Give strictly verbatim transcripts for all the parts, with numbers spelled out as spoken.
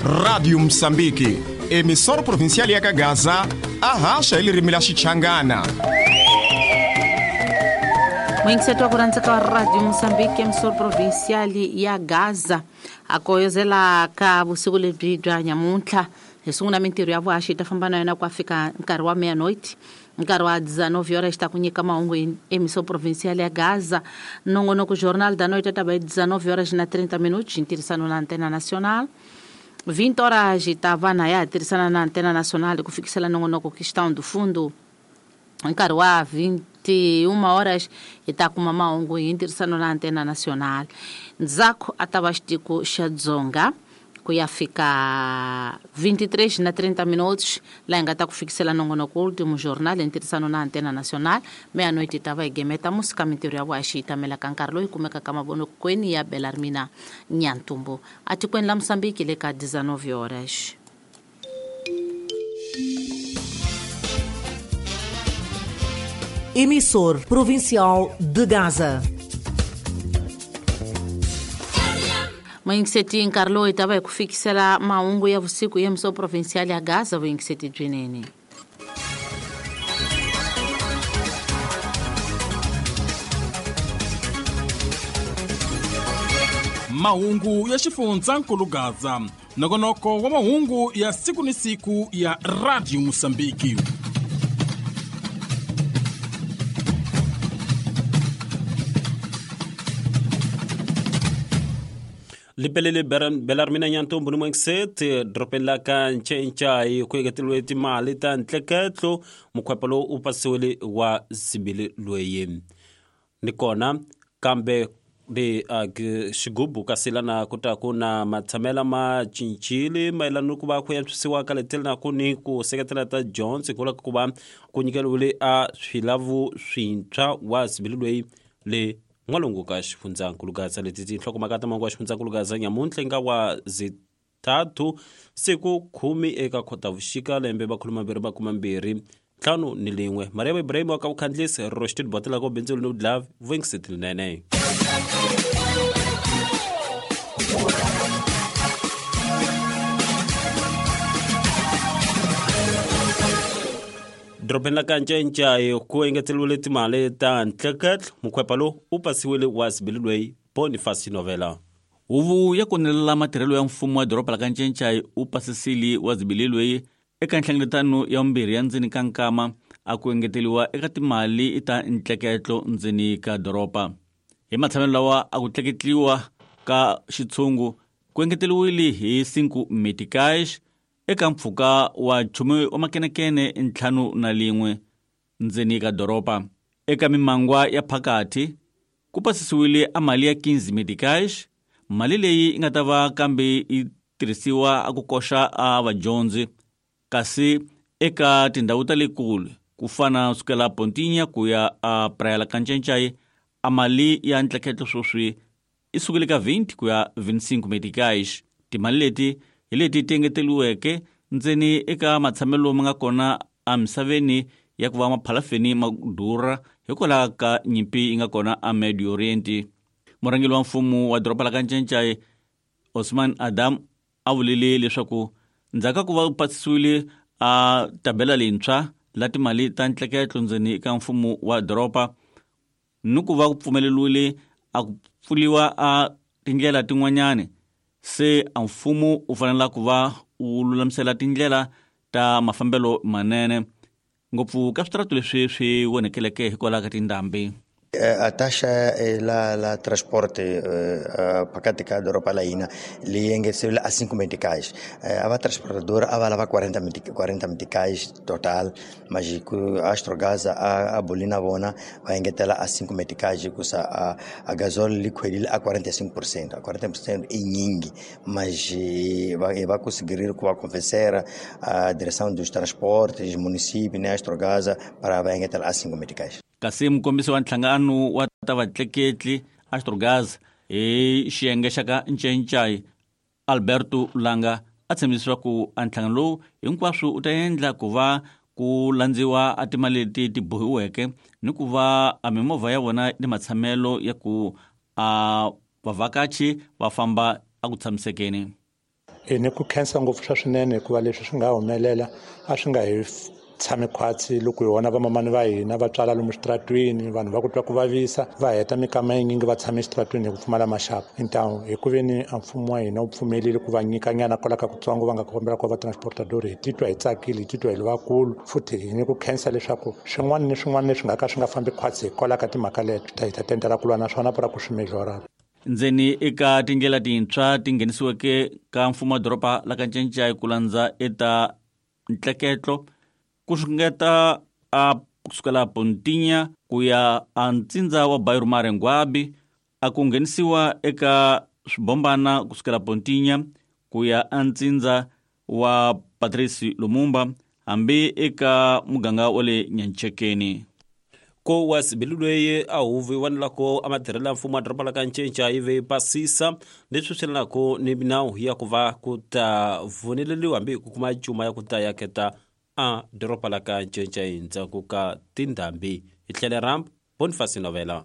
Rádio Moçambique, emissora provincial ya Gaza, arracha ele rimila Xichangana. Mwingiseto wa kuranzika wa Radio Moçambique, emissora provincial ya Gaza, akoyozela ka vusiku lebyi bya nyamuntlha hi sungula mintirho ya vuhaxi yi ta famba na yona ku fika nkarhi wa meia-noite, nkarhi wa dezenove horas ta ku nyika mahungu hi emissão provincial ya Gaza. Nongonoko Jornal da Noite ta va hi dezenove horas na trinta minutos, hi ntirhisano na Antena Nacional. vinte horas ta va na ya tirhisana na Antena Nacional ku fikisela nongonoko Questão do Fundo. Nkarhi wa vinte e uma horas hi ta kuma mahungu hi ntirhisano na Antena Nacional. Ndzhaku a ta va xitiko xa Dzonga ku ya fika vinte e três na trinta minutos, laha hi nga ta ku fikisela nongonoko Último Jornal hi ntirhisano na Antena Nacional. Meia-noite ta va hi gemeta musika mintirho ya vuhaxi yi tamelaka nkarhi lowu yi kumekaka mavonokweni ya Belarmina Nyantumbu atikweni la Moçambique le ka dezenove horas. Emissor Provincial de Gaza. Mwingiseti nkarhi lowu hi ta va hi ku fikisela mahungu ya vusiku ya emissão provincial ya Gaza. Vuyingiseti byinene. Mahungu ya xifundzankulu Gaza, nongonoko wa mahungu ya siku ni siku ya Radio Moçambique. Lipelele Belarmina Nyantumbu ni Mwingiseti doropeni la ka Ncencai ku engeteriwe timali ta ntleketlo mukhwepa lowu u pasiwile wa zibili loyi ni kona kambe le xigubu kasi lana ku ta ku na matshamela ma cincile mayelana ni ku va ku antswisiwa ka letela na ku ni ku seketela ta Jones ku ku va ku nyikeriwile a swilavu swintshwa wa zibili loyi le n'walungu ka xifundzankulu Gaza. Leti tinhlokomhaka ta mahungu ya xifundzankulu Gaza nyamuntlha nga wa zithathu siku khume eka Khotavuxika lembe makhulu mambirhi makume mbirhi ntlhanu ni lin'we. Mariam Ibrahim wa ka vukhandlisi Roshid Botela ko bindzu ni Love Vuyingiseti linene. Doropeni la ka Ncencai ku engeteriwile timali ta ntleketlo mukhwepa lowu u pasiwile wa zibili loyi Boniface Novela. Huvo ya konelela matirhelo ya mfumo wa doroba la ka Ncencai u pasisile wa zibili loyi eka nhlengeletano ya vumbirhi ya ndzeni ka nkama a ku engeteriwa eka timali ta ntleketlo ndzeni ka doroba. Hi matshamelo lawa a ku tleketliwa ka xitshungu ku engeteriwile hi cinco meticais eka mpfhuka wa nchumu wa makenekene ntlhanu na lin'we ndzeni ka doroba. Eka mimangwa ya phakathi ku pasisiwile a mali ya quinze meticais, mali leyi yi nga ta va kambe yi tirhisiwa a ku koxa a vadyondzi, kasi eka tindhawu ta le kule ku fana sukela Pontinha ku ya a Praia la ka Ncencai a mali ya ntleketlo sweswi yi sukile ka vinte ku ya vinte e cinco meticais. Timali leti hi leti ti engeteriweke ndzeni eka matshamelo ma nga kona emisaveni ya ku va maphalafeni ma durha hikwalaho ka nyimpi yi nga kona a Medio Oriente. Murhangeri wa mfumo wa doroba la ka Ncencai Osman Adam a vulile leswaku ndzhaku ka ku va pasisiwile a tabela leyintshwa la timali ta ntleketlo ndzeni ka mfumo wa doroba ni ku va ku pfumeleriwile a ku pfuriwa a tindlela tin'wanyani, se a mfumo u fanele ku va u lulamisela tindlela ta mafambelo manene ngopfu ka switaratu leswi swi vonekeleke hikwalaho ka tindhambi. A taxa la la transporte phakathi ka doroba la hina leyi engeteriwile a cinco meticais. A va transportadora a va lava quarenta quarenta meticais total, mas ku Astrogás a a boli na vona va engetela a cinco meticais hikusa a a gasol li khwelile a quarenta e cinco por cento. A quarenta por cento i nyingi, mas va va conseguir ku va convencer a direção dos transportes, município, né, Astrogás para va engetela a cinco meticais. Kasi mukombisi wa nhlangano wa ta vatleketli Astrogás hi xiyenge xa ka Ncencai Alberto Langa a tshembisa leswaku a nhlangano lowu hinkwaswo u ta endla ku va ku landziwa a timali leti ti bohiweke ni ku va a mimovha ya vona ni matshamelo ya ku a vavhakachi va famba a ku tshamisekeni. E ni ku khensa ngopfu swa swinene hikuva leswi swi nga humelela a swi nga hi tshami khwatsi loko hi vona vamamani va hina va tswala lomu switaratwini, vanhu va ku twa ku vavisa va heta mikama yinyingi va tshame exitaratwini hi ku pfumala maxaka. Então hi ku veni a mfumo wa hina wu pfumelile ku va nyikanyana kwala ka kutsongo va nga kombela ku va transportador, hi titwa hi tsakile, hi titwa hi ri vakulu futhi hi ni ku khensa leswaku swin'wana ni swin'wana leswi nga ka swi nga fambi khwatsi hikwalaho ka timhaka leto hi ta tendela ku lwa na swona pura ku swi mejorara. Ndzeni eka tindlela tintshwa ti nghenisiweke ka mfumo wa doroba la ka Ncencai ku landza eta ntleketlo ku xungeta a kusukela Pontinya ku ya a ntsindza wa Bairro Marenguabi, a ku nghenisiwa eka swibombana kusukela Pontinya ku ya a ntsindza wa Patrice Lumumba hambi eka muganga wa le Nyanchekeni. Ko wa sibili loyi a huvi wanelako a matirhelo ya mfumo wa doroba la ka Ncencai ve pasisa leswi swi lelako ni milawu ya ku va ku ta voneleliwa hambi ku kuma cuma ya ku ta yaketa a doroba la ka Ncencai ndzhaku ka tindhambi. Hi tlhele ramp Boniface Novela.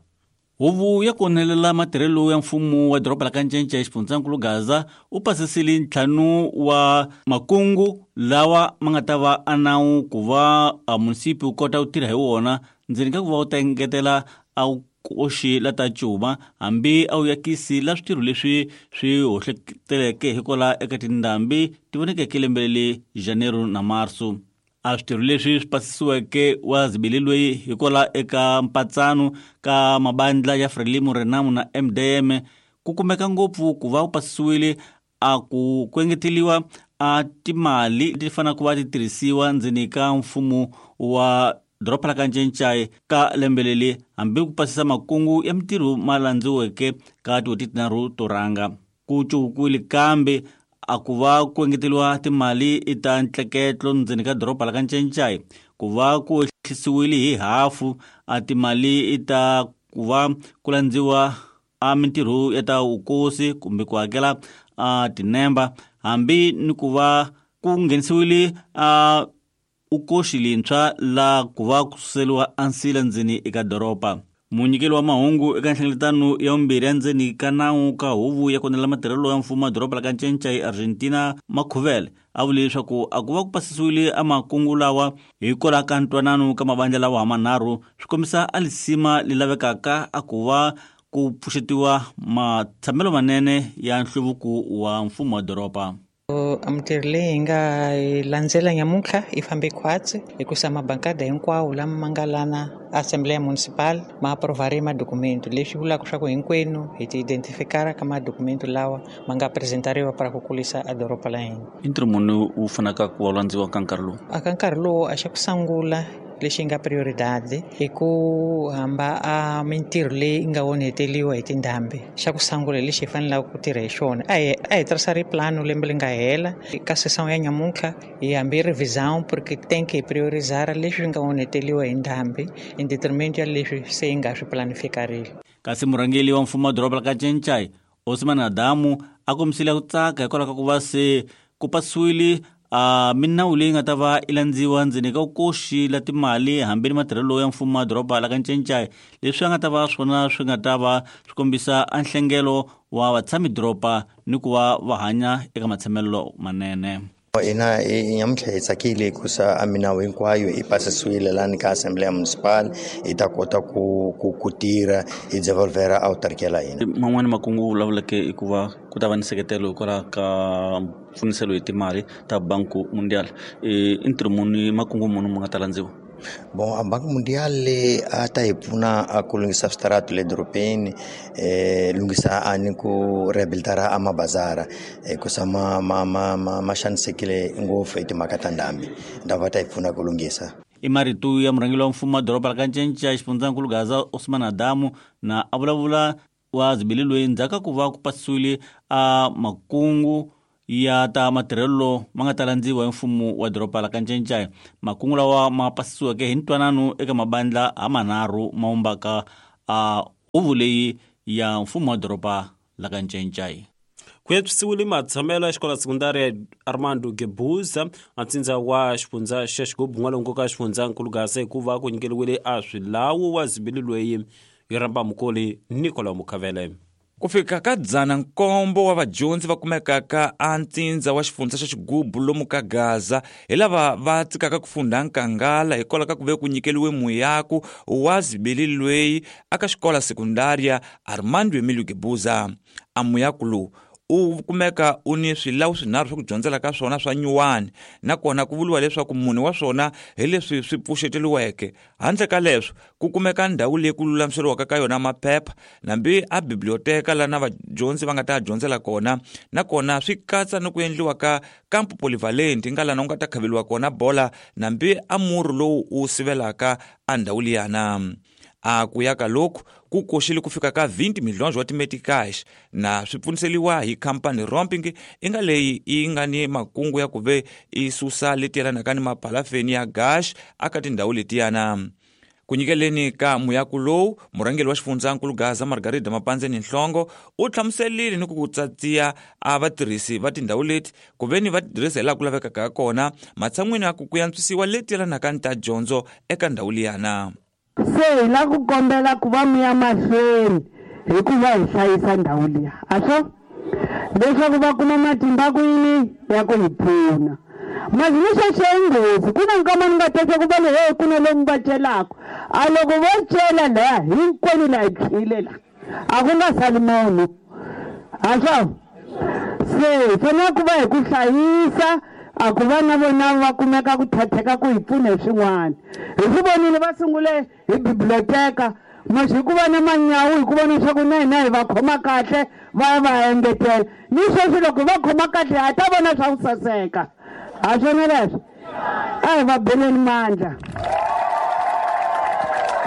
Huvo ya konelela matirhelo ya mfumo wa doroba la ka Ncencai xifundzankulu Gaza u pasisile ntlhanu wa makungu lawa ma nga ta va a nawu ku va a munisipi wu kota ku tirha hi wona ndzeni ka ku va wu ta engetela a koxi la ta cuma hambi a wu yakisi la switirho leswi swi hohleteleke hikwalaho eka tindhambi ti vonekeke lembe leri Janeiro na Marso. A switirho leswi swi pasisiweke wa zibili loyi hikwalaho eka mpatsano ka mabandla ya Frelimo, Renamo na M D M ku kumeka ngopfu ku va wu pasisiwile a ku ku engeteliwa a timali leti faneleke ku va ti tirhisiwa ndzeni ka mfumo wa doroba la ka Ncencai ka lembe leri hambi ku pasisa makungu ya mitirho ma landziweke ka tin'hweti tinharhu to rhanga. Ku cukuwile kambe a ku va ku engeteliwa timali ta ntleketlo ndzeni ka doroba la ka Ncencai, ku va ku ehlisiwile hi hafu a timali ta ku va ku landziwa a mitirho ya ta vukosi kumbe ku hakela a tinemba hambi ni ku va ku nghenisiwile a ukoxi lintshwa la ku va ku suseliwa ansila ndzeni eka doroba. Munyikeli wa mahungu eka nhlengeletano ya vumbirhi ya ndzeni ka nawu ka huvo ya konela matirhelo ya mfumo wa doroba la ka Ncencai Argentina Makhuvele a vule leswaku a ku va ku pasisiwile a makungu lawa hikwalaho ka ntwanano ka mavandla lawa manharhu swi kombisa a lisima li lavekaka a ku va ku pfuxetiwa matshamelo manene ya nhluvuko wa mfumo wa doroba. A mintirho leyi hi nga yi landzela nyamuntlha yi fambe khwatsi hikusa mabankada hinkwawo lama ma nga lana Assembleia Municipal ma aprovare madokumento, leswi vulaka swa ku hinkwenu hi ti identifikara ka madokumento lawa ma nga presentariwa para ku kulisa a doroba la hina. I ntirho muni wu fanaka ku va landziwa ka nkarhi lowu? A ka nkarhi lowu a xa ku sungula lexi nga prioridade i ku hamba a mintirho leyi nga onheteliwa hi tindhambi. Xa ku sungula lexi hi fanelaka ku tirha hi xona a hi a hi tirhisa ri plano lembe leri nga hela ka session ya nyamuntlha hi hambi revisão porque tem que priorizar leswi nga onheteliwa hi ndhambi in detriment ya leswi se hi nga swi planifikarile. Kasi murhangeri wa mfumo wa doroba la ka Ncencai Osman Adamu a kombisile ku tsaka hikwalaho ka ku va se ku pasiwile a minawu leyi nga ta va i landziwa ndzeni ka vukoxi la timali hambi ni matirhelo ya mfumo wa doroba la ka Ncencai leswi a nga ta va swona swi nga ta va swi kombisa a nhlengelo wa vatshami doroba ni ku va va hanya eka matshamelo manene. Hina nyamuntlha hi tsakile hikusa a minawu hinkwayo yi pasisiwile lani ka Assembleia Municipal hi ta kota ku ku ku tirha hi devolvera autarkia la hina. Man'wani makungu wu vulavuleke i ku va ku ta va ni nseketelo hikwalaho ka mpfuniselo hi timali ta Banco Mundial. I ntirho muni makungu muni mu nga ta landziwa? Bon, a Banco Mundial a ta hi pfuna a ku lunghisa switaratu le dorobeni, eh lunghisa a ni ku rehabilitara a mabazara hikusa ma ma ma ma ma xanisekile ngopfu hi timhaka ta ndhambi, ndhawu va ta hi pfuna ku lunghisa. I marito ya murhangeri wa mfumo wa doroba la ka Ncencai xifundzankulu Gaza Osman Adamu na a vulavula wa zibili loyi ndzhaku ka ku va ku pasisiwile a makungu ya ta matirhelo ma nga ta landziwa hi mfumo wa doroba la ka Ncencai. Makungu lawa ma pasisiweke hi ntwanano eka mabandla ha manharhu ma vumbaka a huvo leyi ya mfumo wa doroba la ka Ncencai. Ku antswisiwile matshamelo ya xikolo sekondari ya Armando Guebuza a ntsindza wa xifundza xa Xigubu n'walungu ka xifundzankulu Gaza hikuva ku nyikeriwile a swilawu wa zibili loyi hi rhamba mukoli Nicolas Mukhavele. Ku fika ka dzana nkombo wa vadyondzi va kumekaka a ntsindza wa xifundza xa Xigubu lomu ka Gaza hi lava va tsikaka ku funda nkangala hikwalaho ka ku ve ku nyikeliwe muyaku wa zibeli lweyi aka xikola sekundaria Armando Emilio Guebuza. A muyaku lowu u kumeka u ni swilawu swinharhu swa ku dyondzela ka swona swa nyuwani, nakona ku vuriwa leswaku mune wa swona hi leswi swi pfuxeteliweke. Handle ka leswo ku kumeka ndhawu leyi ku lulamiseriwaka ka yona maphepha nambi a biblioteka lana vadyondzi va nga ta dyondzela kona, nakona swi katsa ni ku endliwa ka kampo polyvalent nga lana u nga ta khaveliwa kona bola nambi a murhi lowu u sivelaka a ndhawu liyana. A ku ya ka loku ku koxile ku fika ka twenty milhonjo wa timetikash na swi pfuniseliwa hi khampani Romping i nga leyi yi nga ni makungu ya ku ve i susa leti yelanaka ni mapalafeni ya gash aka tindhawu letiyana. Ku nyikeleni ka muyaku lowu, murhangeri wa xifundzankulu Gaza Margarida Mapandzeni Nhlongo u hlamuserile ni ku ku tsatsiya a vatirhisi va tindhawu leti ku ve ni va tirhisa hi laha ku lavekaka kona matshan'wini ya ku ku yantswisiwa leti yelanaka ni ta dyondzo eka ndhawu liyana. Se hi la ku kombela ku va mi ya mahlweni hikuva hi hlayisa ndhawu liya a swo leswaku va kuma matimba ku yini ya ku hi pfuna. Mazini sweswo i nghozi, ku na nkama ni nga teka ku va le he ku na lomu va celaka a loko vo cela laha hinkwenu laha hi tshwile la a ku nga sali munhu a swo se hi fanele ku va hi ku hlayisa a ku va na vona va kumeka ku thatheka ku hi pfuna hi swin'wana. Hi swi vonile va sungule hi biblioteka masi hi ku va na manyawu hi ku vona leswaku na hina hi va khoma kahle va ya va engetela ni sweswi loko va khoma kahle ha ta vona swa ku saseka ha swona leswo a hi va beleni mandla.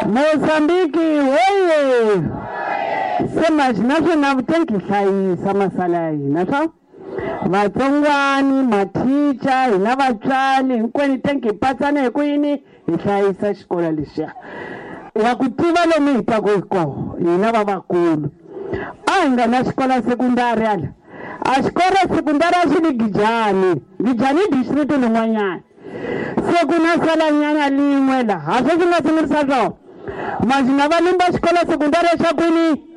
Mozambiki hoye se masi naswona vutenki hlayisa masala ya hina swa vatsongwani mathicha hina vatswari hinkwenu tenki hi patsana hi ku yini hi hlayisa xikolo lexiya ya ku tiva lomu hi taku hi koho hina vavakulu. A hi nga na xikolo sekundari ala a xikolo sekundari a xi li Gijani Gijani i district lin'wanyana se ku na salanyana lin'we laha ha swo swi nga sungurisa swona masi na va lumba xikolo sekundari xa kwini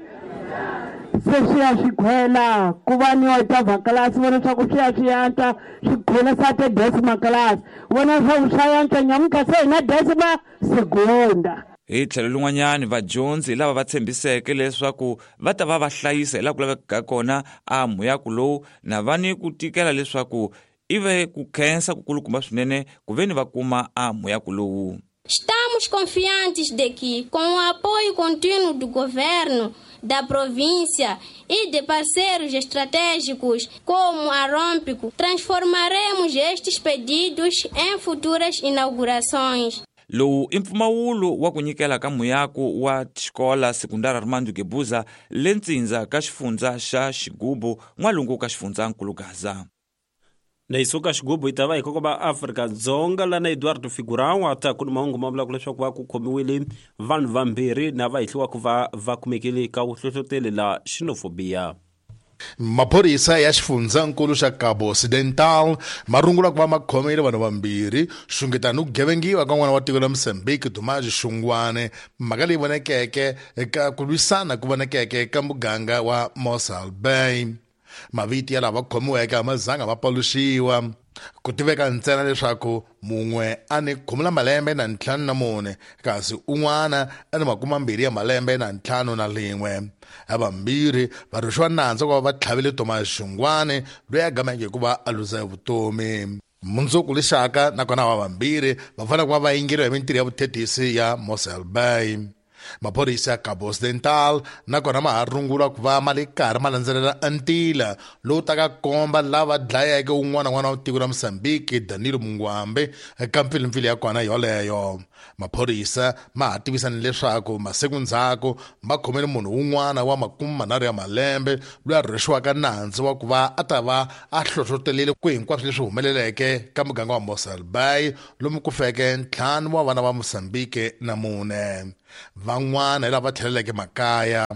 se swi ya swi khwela ku va ni octava class vona swa ku swi ya swi yantswa swi khwela sa te decima class vona swa ku swa yantswa nyamuntlha se hi na decima segunda. Hi tlhelo lin'wanyani vadyondzi lava va tshembiseke leswaku va ta va va hlayisa hi laha ku lavekaka kona a muyaku lowu na va ni ku tikela leswaku i ve ku khensa ku kulukumba swinene ku ve ni va kuma a muyaku lowu. Estamos confiantes de que, com o apoio contínuo do governo, da província e de parceiros estratégicos como a Rompico, transformaremos estes pedidos em futuras inaugurações. Lowu i mpfumawulo wa ku nyikela ka muyaku wa xikola sekundari Armando Guebuza le ntsindza ka xifundza xa Xigubu n'walungu ka xifundzankulu Gaza. Na hi suka Xigubu hi ta va hi kokoba Afrika-Dzonga lana Eduardo Figurão a ta ku ni mahungu ma vulaka leswaku va ku khomiwile vanhu vambirhi na va hehliwaka va va kumekile ka vuhlohloteli la xenofobia. Maphorisa ya xifundzankulu xa Cabo Occidental ma rungula ku va ma khomile vanhu vambirhi xungeta ni ku gevengiwa ka n'wana wa tiko la Mozambique Dumaji Xungwane, mhaka leyi vonekeke eka ku lwisana ku vonekeke ka muganga wa Mossel Bay. Mavito ya lava khomiweke a ma zanga ma paluxiwa, ku tiveka ntsena leswaku mun'we a ni khume la malembe na ntlhanu na mune kasi un'wana a ni makume mambirhi ya malembe na ntlhanu na lin'we. Havambirhi va rhwexiwa nandzu ku va va tlhavile Thomas Xungwane loyi a gameke hi ku va a luza vutomi. Mundzuku lexaka nakona va vambirhi va fanele ku va va yingeriwa hi mintirho ya vuthethisi ya Mossel Bay. Maphorisa ya Cabo Occidental nakona ma ha rungula ku va ma le karhi ma landzelela ntila lowu taka komba lava dlayeke un'wana n'wana wa tiko ra Mozambique Danilo Mungwambe eka mpfilimpfili ya kona yoleyo. Maphorisa ma ha tivisa ni leswaku masiku ndzhaku ma khomele munhu un'wana wa makume manharhu ya malembe loyi a rhwexiwaka nandzu wa ku va a ta va a hlohlotelile ku hinkwaswo leswi humeleleke ka muganga wa Mossel Bay lomu ku feke ntlhanu wa vana va Mozambique na mune. Van'wana hi lava tlheleleke makaya.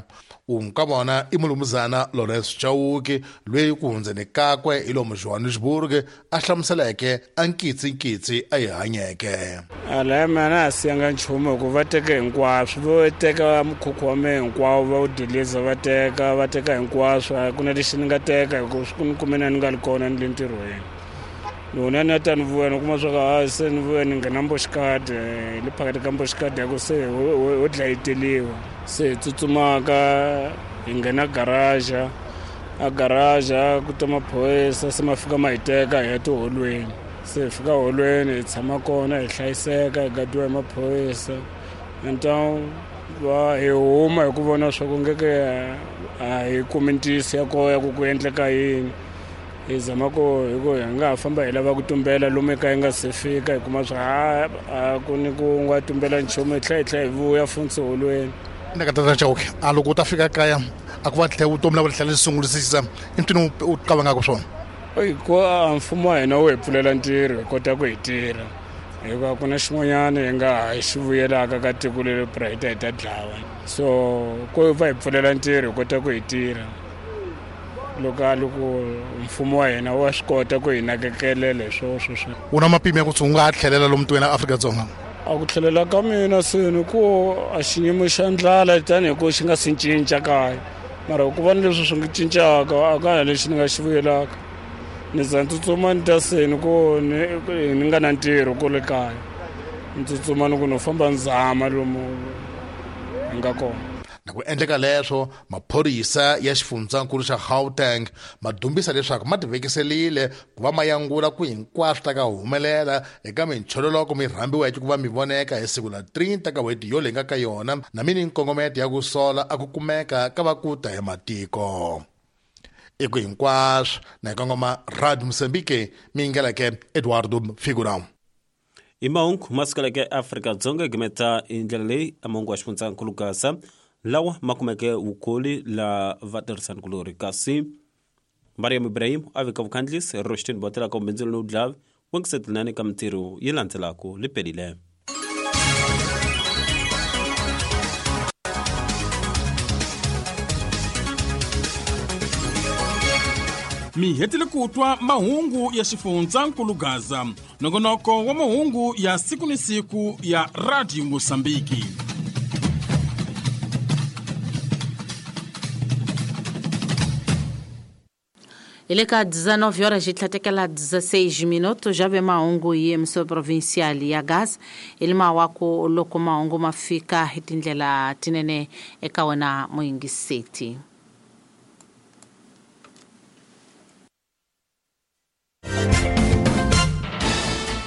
Wun'we ka vona i mulumuzana Lawrence Chauke loyi ku hundzeni kakwe hi lomu Johannesburg a hlamuseleke a nkitsinkitsi a yi hanyeke. Alaya mina a siyanga nchumu hikuva va teke hinkwaswo, vo teka mukhukhu wa mehe hinkwawo va wu diliza, va teka va teka hinkwaswo, a ku na lexi ni nga teka hikuva swi ku ni kume na ni nga ri kona ni le ntirhweni. Loko ni ta ni vuya ni kuma swa ku hayi se ni vuya ni nghena mboxikadi le phakathi ka mboxikadi ya ku se ho dlayeteliwa, se hi tsutsumaka hi nghena garaja, a garaja ku ta maphorisa se ma fika ma hi teka hi ya tiholweni, se hi fika holweni hi tshama kona hi hlayiseka hi gadiwa hi maphorisa. Então va hi huma hi ku vona swa ku ngeke a hi kumi ntiyiso ya kona ya ku ku endleka yini. Hi zama ku hi ku hi nga ha famba hi lava ku tumbela lomu ekaya hi nga se fika hi kuma swa ha a ku ni ku nga tumbela nchumu, hi tlhela hi tlhela hi vuya funtsi holweni. Ni ka tata Chauke, a loko u ta fika kaya a ku va tlhela vutomi la tlhela sungurisisa i ntini u qavangaka swona? I ku a mfumo wa hina wu hi pfulela ntirho hi kota ku hi tirha, hikuva ku na xin'wanyana hi nga ha xi vuyelaka ka tiko leri pra hi ta hi ta dlawa, so ku va hi pfulela ntirho hi kota ku hi tirha. Loko a loko mfumo wa hina wa swi kota ku hi nakekelela hi swoho sweswo. U na mapimo ya ku u nga ha tlhelela lomu tikweni ra Afrika-Dzonga? A ku tlhelela ka mina se ni ku a xiyimo xa ndlala tanihi ku xi nga si cinca kaya, mara ku va ni leswi swi nga cincaka a ka ha lexi ni nga xi vuyelaka. Ni za ni tsutsuma ni ta se ni ku ni ni nga na ntirho kule kaya, ni tsutsuma ni ku no famba ni zama lomu hi nga kona. Na ku endleka leswo, maphorisa ya xifundzankulu xa Gauteng ma dumbisa leswaku ma tivekiserile ku va ma yangula ku hinkwaswo ta ka humelela eka minchololoko mi rhambiweke ku va mi voneka hi siku la thirty ka n'hweti yo leyi nga ka yona, na mini nkongometo ya ku sola a ku kumeka ka va ku ta hi matiko. I ku hinkwaswo na hi kongoma Radio Mozambique mi yingeleke Eduardo Figurão. I mahungu ma sukeleke Afrika-Dzonga gimeta hi ndlela leyi a mahungu ya xifundzankulu Gaza lawa ma kumeke vukoli la vatirhisanikulorhi, kasi Mariam Ibrahim a veka vukhandlisi Roshtin Botela ka ubindzulu no dlavi wengisetelani ka mintirho yi landzelaka li pelile. Mi hetile ku twa mahungu ya xifundzankulu Gaza, nongonoko wa mahungu ya siku ni siku ya Radio Mozambique. Ele ka dezenove horas e tlhatekela dezesseis minutos já vem mahungu hi emissora provincial ya Gaza ele mawako loko mahungu ma fika hi tindlela tinene eka wena muyingiseti.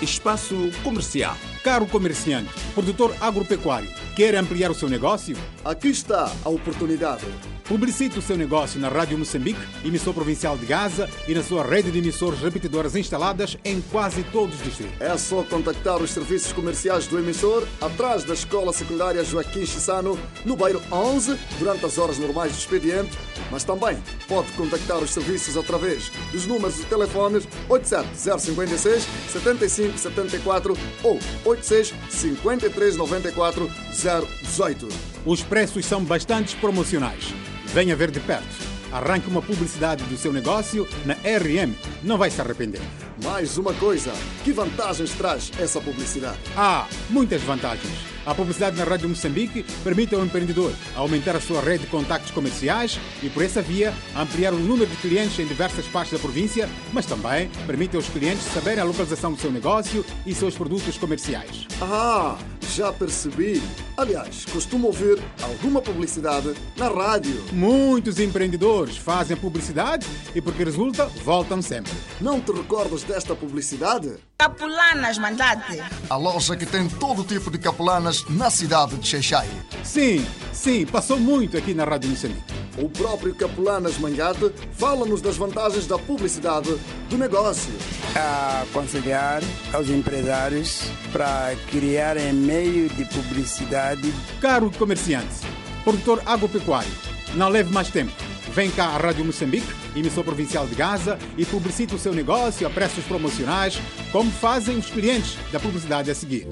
Espaço Comercial. Caro comerciante, produtor agropecuário, quer ampliar o seu negócio? Aqui está a oportunidade. Publicite o seu negócio na Rádio Moçambique, emissor provincial de Gaza, e na sua rede de emissores repetidoras instaladas em quase todos os distritos. É só contactar os serviços comerciais do emissor atrás da Escola Secundária Joaquim Chissano, no bairro onze, durante as horas normais do expediente, mas também pode contactar os serviços através dos números de telefones oito sete zero cinco seis, sete cinco sete quatro ou oito seis cinco três nove quatro zero um oito. Os preços são bastante promocionais. Venha ver de perto. Arranque uma publicidade do seu negócio na R M. Não vai se arrepender. Mais uma coisa, que vantagens traz essa publicidade? Ah, muitas vantagens. A publicidade na Rádio Moçambique permite ao empreendedor aumentar a sua rede de contactos comerciais e, por essa via, ampliar o número de clientes em diversas partes da província, mas também permite aos clientes saberem a localização do seu negócio e seus produtos comerciais. Ah, já percebi. Aliás, costumo ouvir alguma publicidade na rádio. Muitos empreendedores fazem publicidade e, porque resulta, voltam sempre. Não te recordas desta publicidade? Capulanas Mandate. A loja que tem todo tipo de capulanas na cidade de Xaixai. Sim, sim, passou muito aqui na Rádio Moçambique. O próprio Capulanas Mangate fala-nos das vantagens da publicidade do negócio. A aconselhar aos empresários para criarem meio de publicidade. Caro comerciante, produtor agropecuário, não leve mais tempo. Vem cá à Rádio Moçambique, emissor provincial de Gaza, e publicite o seu negócio a preços promocionais, como fazem os clientes da publicidade a seguir.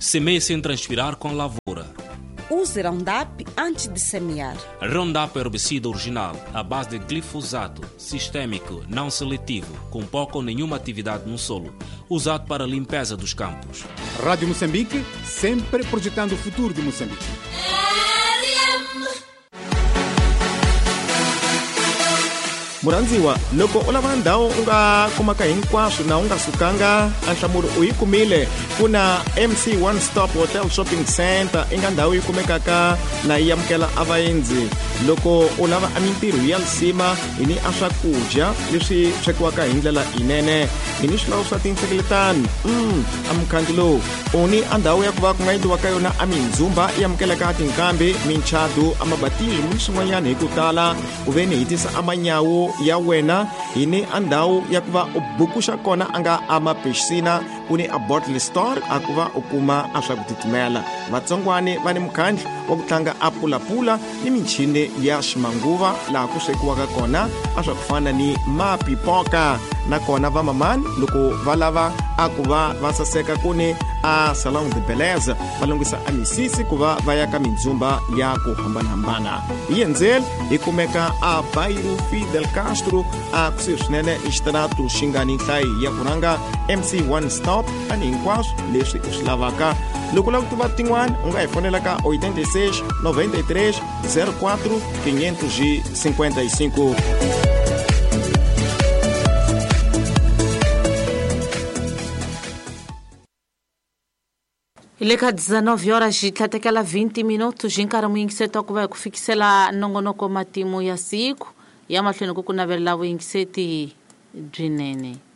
Semeie sem transpirar com a lavoura. Use Roundup antes de semear. Roundup é herbicida original, à base de glifosato, sistêmico, não seletivo, com pouca ou nenhuma atividade no solo, usado para a limpeza dos campos. Rádio Moçambique, sempre projetando o futuro de Moçambique. Murandziwa loko u lava ndhawu u nga kumaka hinkwaswo na u nga sukanga a nhlamulo u yi kumile ku na M C One Stop Hotel Shopping Center i nga ndhawu yi kumekaka na yi amukela a vaendzi loko u lava a mintirho ya lisima hi ni a swakudya leswi swekiwaka hi ndlela yinene hi ni swilawo swa tinhlengeletano mm, a mukhangi lowu u ni a ndhawu ya ku va ku nga endliwa ka yona a mindzumba yi amukelaka tinkambi minchadu a mabatili ni swin'wanyana hi ku tala ku ve ni hi tisa a manyawu ya wena hi ni a ndhawu ya ku va u bukuxa kona a nga a mapixina ku ni a bottle store a ku va u kuma a swa ku titimela vatsongwani va ni mukhandlu wa ku tlanga a pulapula ni michini ya ximanguva laha ku swekiwaka kona a swa ku fana ni mapipoka nakona vamamani loko va lava a ku va va saseka ku ni a salon de beleza va lunghisa a misisi ku va va ya ka mindzumba ya ku hambanahambana hi endzeli hi kumeka a Bairro Fidel Castro a kusuhi swinene ni xitaratu xi nga ni nhlayo ya ku rhanga M C One Stop ani hinkwaswo leswi u swi lavaka loko u lava ku tiva tin'wana u nga hi fonela ka oitenta e seis noventa e três zero quatro quinhentos e cinquenta e cinco. Hi le ka dezenove horas hi tlhatekela vinte minutos hi nkarhi muyingiseti wa ku va hi ku fikisela nongonoko matimu ya siku ya mahlweni ku ku navelela vuyingiseti byinene.